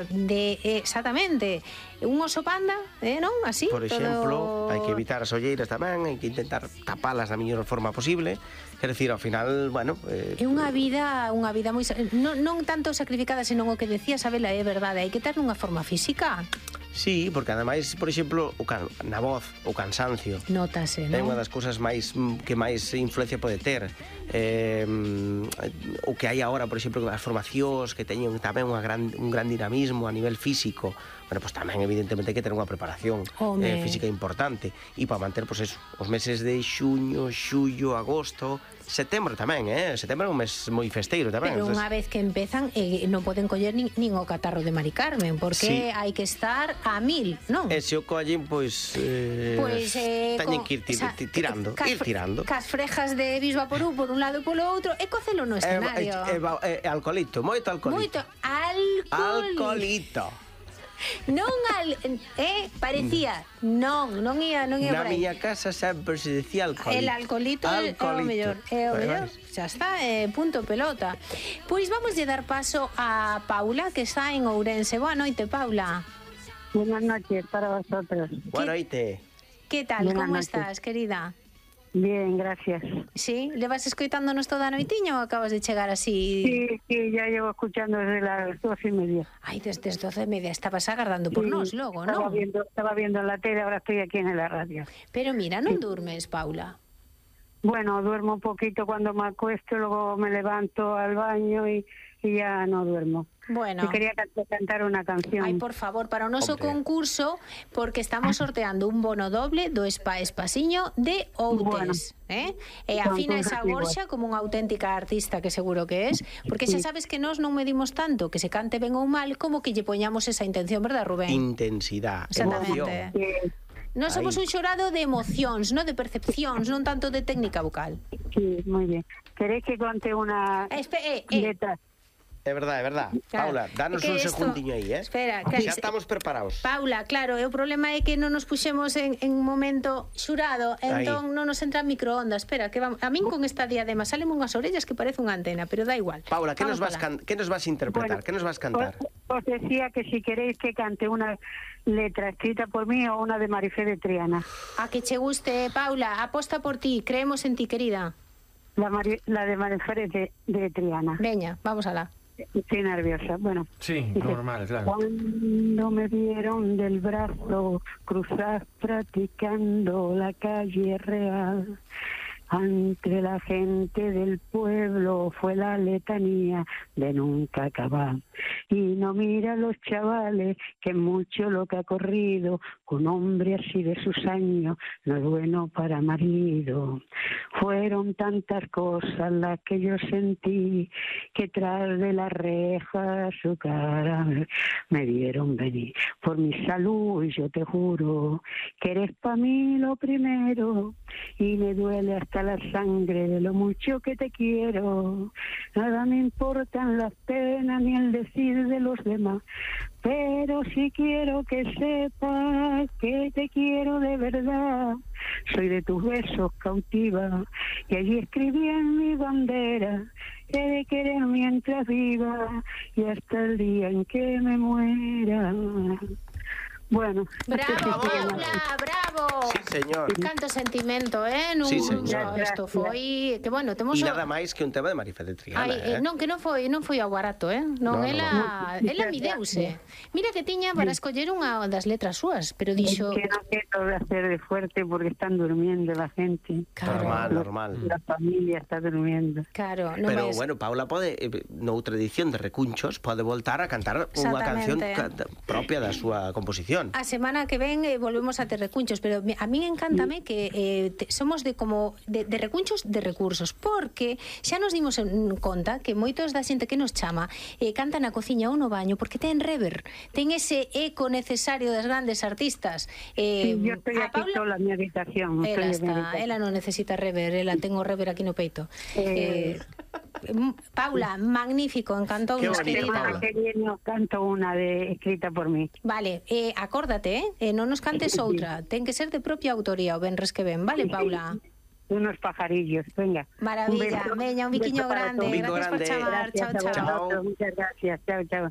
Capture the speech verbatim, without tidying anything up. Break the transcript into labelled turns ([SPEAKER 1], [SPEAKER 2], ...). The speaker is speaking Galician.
[SPEAKER 1] de exactamente un oso panda, eh, non? Así,
[SPEAKER 2] por exemplo,
[SPEAKER 1] todo...
[SPEAKER 2] hai que evitar as olleiras tamén, hai que intentar tapalas da mellor forma posible. Quer decir, ao final, bueno, eh,
[SPEAKER 1] é unha vida, unha vida moi non, non tanto sacrificada, senón o que decía Sabela, é verdade, hai que ter unha forma física.
[SPEAKER 2] Sí, porque ademais, por exemplo, o can, na voz, o cansancio
[SPEAKER 1] Notase, non?
[SPEAKER 2] É unha das cousas máis que máis influencia pode ter. Eh, o que hai agora, por exemplo, as formacións que teñen tamén unha gran, un gran dinamismo a nivel físico. Bueno, pues tamén evidentemente hai que ter unha preparación eh, física importante. E para manter, pues eso, os meses de xuño, xullo, agosto, setembro tamén, eh? Setembro é un mes moi festeiro tamén.
[SPEAKER 1] Pero
[SPEAKER 2] Entonces...
[SPEAKER 1] unha vez que empezan, eh, non poden coller nin, nin o catarro de Mari Carmen, porque sí. hai que estar a mil, non?
[SPEAKER 2] E se o collen, pois... Eh,
[SPEAKER 1] pues, eh,
[SPEAKER 2] teñen que ir tir,
[SPEAKER 1] o sea,
[SPEAKER 2] tirando,
[SPEAKER 1] cas,
[SPEAKER 2] ir tirando.
[SPEAKER 1] Cas frejas de Bisbaporú por un lado e polo outro, e cocelo no escenario.
[SPEAKER 2] Eh, eh, eh, alcoholito, moito alcoholito.
[SPEAKER 1] Moito alcohol.
[SPEAKER 2] Alcoholito.
[SPEAKER 1] Non al, eh, parecía, non, non ia, non ia
[SPEAKER 2] Na
[SPEAKER 1] por aí.
[SPEAKER 2] miña casa sempre se decía alcoholito.
[SPEAKER 1] El alcoholito é o mellor, é o mellor. Xa está, eh, punto pelota. Pois vamos a dar paso a Paula, que está en Ourense. Boa noite, Paula.
[SPEAKER 3] Buenas noches para vosotros.
[SPEAKER 2] Boa noite.
[SPEAKER 1] Que tal,
[SPEAKER 3] Buenas
[SPEAKER 1] como
[SPEAKER 3] noches.
[SPEAKER 1] estás, querida?
[SPEAKER 3] Bien, gracias.
[SPEAKER 1] Sí, levas escoitándonos toda a noitiña ou acabas de chegar así?
[SPEAKER 3] Sí, sí, ya llevo escuchando desde las doce y media.
[SPEAKER 1] Ay, desde las doce y media estabas agardando por
[SPEAKER 3] Sí,
[SPEAKER 1] nos logo,
[SPEAKER 3] estaba
[SPEAKER 1] non?
[SPEAKER 3] viendo, estaba viendo en la tele, ahora estoy aquí en la radio.
[SPEAKER 1] Pero mira, non durmes, Paula.
[SPEAKER 3] Bueno, duermo un poquito cuando me acuesto, luego me levanto al baño y, y ya no duermo.
[SPEAKER 1] Bueno.
[SPEAKER 3] Yo quería cantar una canción.
[SPEAKER 1] Ay, por favor, para o noso
[SPEAKER 2] Hombre.
[SPEAKER 1] concurso, porque estamos sorteando un bono doble do Spa Espasiño de Outes,
[SPEAKER 3] Bueno.
[SPEAKER 1] eh? E afina esa Borxa como unha auténtica artista que seguro que es, porque xa sabes que nós non medimos tanto que se cante ben ou mal como que lle poñamos esa intención, verdad, Rubén?
[SPEAKER 2] Intensidade,
[SPEAKER 1] Exactamente.
[SPEAKER 2] emoción.
[SPEAKER 3] Sí,
[SPEAKER 1] Nós somos
[SPEAKER 2] Ahí.
[SPEAKER 1] un xorado de emocións, non de percepcións, non tanto de técnica vocal.
[SPEAKER 3] sí, muy bien. ¿Queréis que conte una
[SPEAKER 1] Eh, espe- eh, eh.
[SPEAKER 3] letra?
[SPEAKER 2] É verdade, é verdade.
[SPEAKER 1] Claro.
[SPEAKER 2] Paula, danos
[SPEAKER 1] É que
[SPEAKER 2] un
[SPEAKER 1] esto-
[SPEAKER 2] segundinho aí, eh?
[SPEAKER 1] Espera, que-
[SPEAKER 2] xa estamos preparados.
[SPEAKER 1] Paula, claro, e o problema é que non nos puxemos en, en momento xurado, entón non nos entra microondas. Espera, que vamos, a min con esta diadema salen unhas orellas que parece unha antena, pero da igual.
[SPEAKER 2] Paula, que nos
[SPEAKER 1] Vamos
[SPEAKER 2] vas
[SPEAKER 1] alá.
[SPEAKER 2] can... que nos vas a interpretar?
[SPEAKER 3] Bueno,
[SPEAKER 2] que nos vas a
[SPEAKER 3] Os,
[SPEAKER 2] cantar?
[SPEAKER 3] os decía que si queréis que cante una letra escrita por mí o una de Marifé de Triana.
[SPEAKER 1] A que che guste, Paula, aposta por ti, creemos en ti, querida.
[SPEAKER 3] La, Mari- la de Marifé de, de Triana.
[SPEAKER 1] Veña, vamos alá.
[SPEAKER 3] Estoy nerviosa. Bueno.
[SPEAKER 4] Sí,
[SPEAKER 3] Dice,
[SPEAKER 4] normal, claro.
[SPEAKER 3] Cuando me vieron del brazo cruzar practicando la calle real, ante la gente del pueblo fue la letanía de nunca acabar. Y no mira a los chavales que mucho lo que ha corrido, con hombre así de sus años no es bueno para marido. Fueron tantas cosas las que yo sentí que tras de la reja su cara me vieron venir. Por mi salud yo te juro que eres para mí lo primero y me duele hasta la sangre de lo mucho que te quiero. Nada me importan las penas ni el decir de los demás, pero sí quiero que sepas que te quiero de verdad. Soy de tus besos cautiva y allí escribí en mi bandera que he de querer mientras viva y hasta el día en que me muera. Bueno.
[SPEAKER 1] Bravo, Paula, bravo.
[SPEAKER 2] Sí, señor.
[SPEAKER 1] Canto sentimento, eh? Non,
[SPEAKER 2] Sí, señor.
[SPEAKER 1] no, isto foi, que bueno, temos
[SPEAKER 2] E
[SPEAKER 1] o-
[SPEAKER 2] nada máis que un tema de Marifé de Triana,
[SPEAKER 1] Ai, eh,
[SPEAKER 2] eh?
[SPEAKER 1] non, que non foi, non foi ao barato, eh? Non,
[SPEAKER 2] No, no,
[SPEAKER 1] ela,
[SPEAKER 3] no.
[SPEAKER 1] ela mideuse. Mira que tiña para escoller unha das letras súas, pero dixo,
[SPEAKER 3] Es que no quiero hacer de fuerte porque están durmiendo la gente.
[SPEAKER 1] claro,
[SPEAKER 2] Normal, normal.
[SPEAKER 3] La familia está durmiendo.
[SPEAKER 1] claro, non
[SPEAKER 2] Pero
[SPEAKER 1] ves.
[SPEAKER 2] bueno, Paula pode, eh, noutra edición de Recunchos, pode voltar a cantar unha canción
[SPEAKER 1] Exactamente.
[SPEAKER 2] ca- propia da súa composición.
[SPEAKER 1] A semana que ven eh, volvemos a ter recunchos, pero mi- a min encántame que eh, te, somos de como de, de recunchos de recursos, porque xa nos dimos en conta que moitos da xente que nos chama eh, canta na cociña ou no baño porque ten rever, ten ese eco necesario das grandes artistas. Eh,
[SPEAKER 3] Sí, yo estoy
[SPEAKER 1] a
[SPEAKER 3] aquí
[SPEAKER 1] Paula-
[SPEAKER 3] sola en mi habitación. estoy
[SPEAKER 1] Ela
[SPEAKER 3] en mi
[SPEAKER 1] está,
[SPEAKER 3] habitación.
[SPEAKER 1] ela non necesita rever, ela ten o rever aquí no peito.
[SPEAKER 3] Eh,
[SPEAKER 1] Eh, Paula, magnífico, encantou
[SPEAKER 2] Qué
[SPEAKER 1] nos
[SPEAKER 2] bonito,
[SPEAKER 1] querida.
[SPEAKER 2] Paula.
[SPEAKER 3] que viene os canto una de escrita por mí.
[SPEAKER 1] Vale, eh, acórdate, eh, eh, non nos cantes outra, ten que ser de propia autoría o venres que ven, vale, Paula?
[SPEAKER 3] Unos pajarillos, venga.
[SPEAKER 1] Maravilla,
[SPEAKER 3] Un beso.
[SPEAKER 1] veña, un biquiño
[SPEAKER 3] beso para
[SPEAKER 1] grande,
[SPEAKER 2] Un bico
[SPEAKER 1] gracias por
[SPEAKER 2] grande.
[SPEAKER 1] chamar, chao,
[SPEAKER 3] Gracias a
[SPEAKER 1] chao.
[SPEAKER 2] Chao.
[SPEAKER 3] vosotros, muchas gracias, chao, chao.